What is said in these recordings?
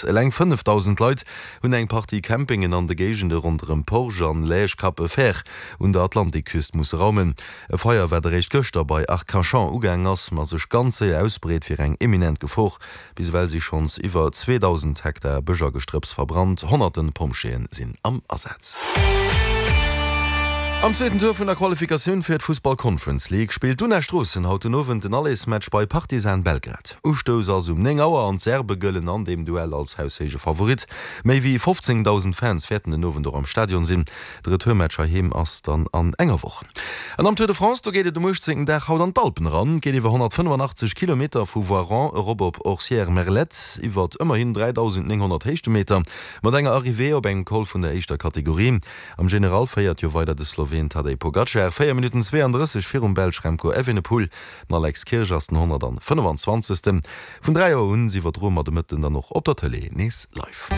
Eleng 5.000 Leit hunn eng Partie Campingen an de Géigende ronderëm Porge an Lège-Cap-Vert un der Atlantikküst musse raumen. E Feier, wat eréischt gëschter bei Arcachon ugaang ass, ma sech ganz séier ausbreet, wier eng eminent Gefor. Bis ewell si schonns iwwer 2.000 Hektar Bësch a Gestrëpps verbrannt, honnerten Pompjeeë sinn am Asaz. Am zweeten Tour vun der Qualifikatioun fir d'Fussball Conference League spillt d'Una Stroossen haut den Owend den Allersmatch bei Partizan Belgrad. Ustouss ass um 9 Auer an d'Serbe gëllen an deem Duell als haushéije Favorit. Méi wéi 15.000 Fans wäerten den Owend och am Stadion sinn. De Retourmatch heiheem ass dann an enger Woch. An am Tour de France, do geet et um 18. Dag haut an d'Alpen eran. Et geet iwwer 185 Kilometer vu Voiron erop op Orcières-Merlette, iwwert ëmmerhin 3.900 Héichtemeter, mat enger Arrivée op engem Col vun der éischter Kategorie. Am General féiert jo weider de Sloween Tadej Pogacar, 4 Minutten 32 virum Belsch Remco Evenepoel. Den Alex Kirsch ass den 125. Vun 3 Auer un iwwerdroe mer de Mëtten dann och op der Tëlee nees live.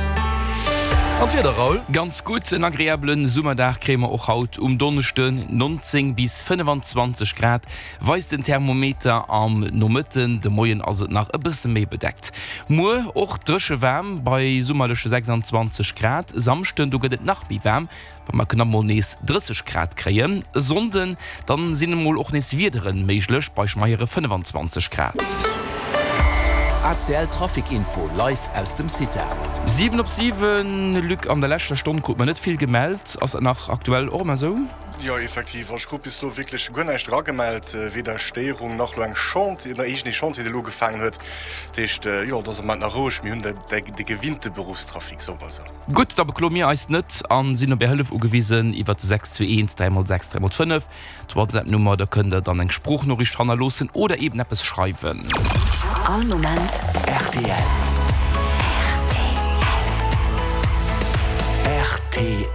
An d'Wieder, Raoul? Ganz gutt, en agreablen Summerdag kréie mer och haut um Donneschden, 19 bis 25 Grad weist den Thermometer am Nomëtten, de Moien ass et nach e bësse méi bedeckt. Muer och dréche waarm bei summerleche 26 Grad. E Samschden do gëtt et nach méi waarm, Wa mer knapp mol nees 30 Grad kréien e Sonnden, dann sinn emol och nees Wiederen méiglech bei schmeiere 25 Grad. ACL Trafic Info live aus dem CITA. 7 op 7, Luc, an der leschter Stonn krut mer net vill gemellt. Ass dat nach aktuell och ëmmer esou? Jo, effektiv. Ech krut bis elo wierklech guer näischt eragemellt, weder Stéierung nach elo eng Chantier, nach iergendee Chantier, dee elo ugefaangen huet. Dat heescht, jo, et ass am Moment nach roueg. Mir hunn de gewinnte Beruffstrafic, soe mer esou. Gutt, da bekloe mir eis net a sinn op Är Hëllef ugewisen iwwert de 621 3 x 6 3 x 5, d'Whatsapp-Nummer. Da kënnt der dann eng Sproochnoriicht hannerloossen oder eben eppes schreiwen. All Moment rtl. Rtl.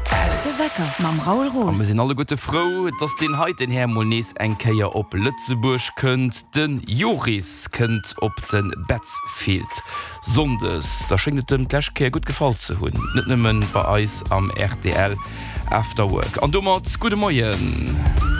De Wecker mam Raoul A Roos. mir sinn alleguerte frou, dass deen heiten Här mol nees eng Kéier op Lëtzebuerg kënnt. De Joris kënnt op de Betzfield. Sonndes, da schéngt et em d'lescht Kéier gutt gefall ze hunn, net nëmmen bei eis am rtl After Work. An domat gudde Moien.